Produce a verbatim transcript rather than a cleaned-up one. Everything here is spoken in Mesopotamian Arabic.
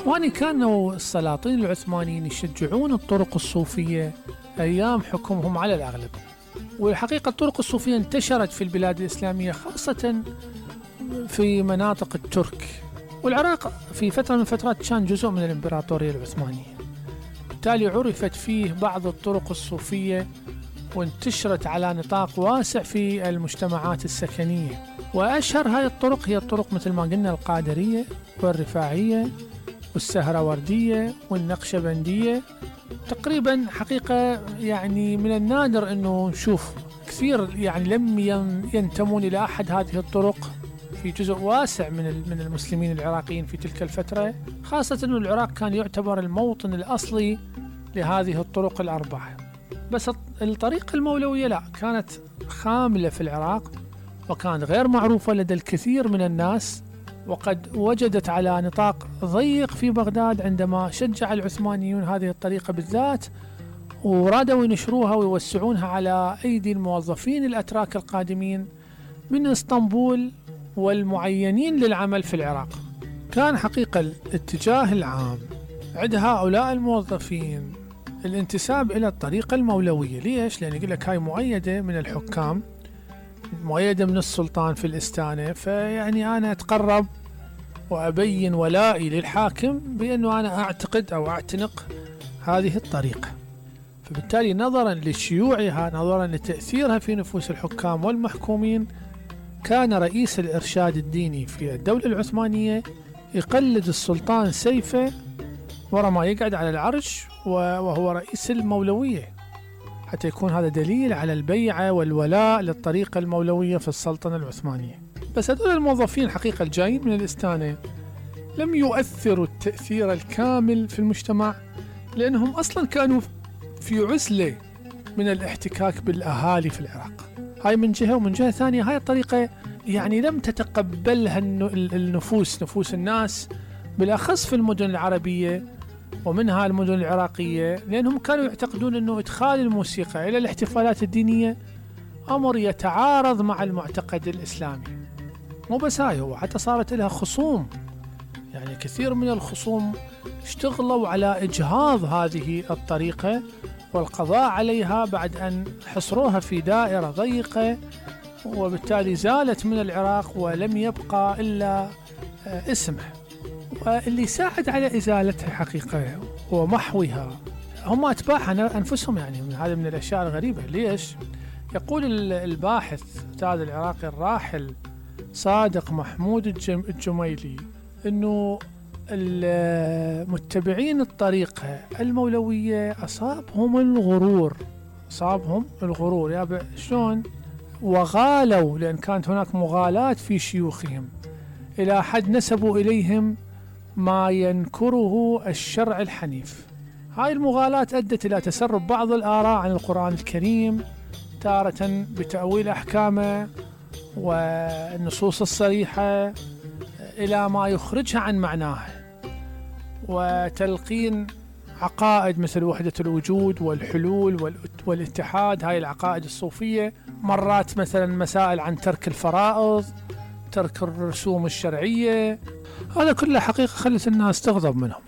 إخواني، كانوا السلاطين العثمانيين يشجعون الطرق الصوفية أيام حكمهم على الأغلب، والحقيقة الطرق الصوفية انتشرت في البلاد الإسلامية خاصة في مناطق الترك، والعراق في فترة من الفترات كان جزء من الإمبراطورية العثمانية، بالتالي عرفت فيه بعض الطرق الصوفية وانتشرت على نطاق واسع في المجتمعات السكنية. وأشهر هذه الطرق هي الطرق مثل ما قلنا القادرية والرفاعية والسهروردية والنقشبندية. تقريبا حقيقة يعني من النادر أنه نشوف كثير يعني لم ينتمون إلى أحد هذه الطرق في جزء واسع من من المسلمين العراقيين في تلك الفترة، خاصة أن العراق كان يعتبر الموطن الأصلي لهذه الطرق الأربعة. بس الطريقة المولوية لا، كانت خاملة في العراق وكانت غير معروفة لدى الكثير من الناس، وقد وجدت على نطاق ضيق في بغداد عندما شجع العثمانيون هذه الطريقة بالذات، ورادوا ينشروها ويوسعونها على أيدي الموظفين الأتراك القادمين من اسطنبول والمعينين للعمل في العراق. كان حقيقة الاتجاه العام عند هؤلاء الموظفين الانتساب إلى الطريقة المولوية. ليش؟ لأن يقول لك هاي مؤيدة من الحكام، مؤيدة من السلطان في الإستانة، فيعني أنا أتقرب وأبين ولائي للحاكم بأنه أنا أعتقد أو أعتنق هذه الطريقة. فبالتالي نظرا لشيوعها، نظرا لتأثيرها في نفوس الحكام والمحكومين، كان رئيس الإرشاد الديني في الدولة العثمانية يقلد السلطان سيفه ورا ما يقعد على العرش وهو رئيس المولوية، حتى يكون هذا دليل على البيعة والولاء للطريقة المولوية في السلطنة العثمانية. بس هذول الموظفين حقيقة الجايين من الإستانة لم يؤثروا التأثير الكامل في المجتمع، لأنهم أصلا كانوا في عزلة من الاحتكاك بالأهالي في العراق. هاي من جهة، ومن جهة ثانية هاي الطريقة يعني لم تتقبلها النفوس نفوس الناس، بالأخص في المدن العربية ومنها المدن العراقية، لأنهم كانوا يعتقدون أنه إدخال الموسيقى إلى الاحتفالات الدينية أمر يتعارض مع المعتقد الإسلامي. مو بس هاي، هو حتى صارت لها خصوم، يعني كثير من الخصوم اشتغلوا على إجهاض هذه الطريقة والقضاء عليها بعد أن حصروها في دائرة ضيقة، وبالتالي زالت من العراق ولم يبقى إلا اسمه. واللي ساعد على إزالتها حقيقة ومحوها هم أتباعها أنفسهم. يعني من هذا من الأشياء الغريبة. ليش؟ يقول الباحث أستاذ العراقي الراحل صادق محمود الجميلي أنه المتبعين الطريقة المولوية أصابهم الغرور، أصابهم الغرور يا شلون؟ وغالوا، لأن كانت هناك مغالاة في شيوخهم إلى حد نسبوا إليهم ما ينكره الشرع الحنيف. هاي المغالاة أدت إلى تسرب بعض الآراء عن القرآن الكريم، تارة بتأويل أحكامه والنصوص الصريحة إلى ما يخرجها عن معناه، وتلقين عقائد مثل وحدة الوجود والحلول والاتحاد، هاي العقائد الصوفية. مرات مثلا مسائل عن ترك الفرائض، ترك الرسوم الشرعية. هذا كله حقيقة خلت الناس تغضب منهم.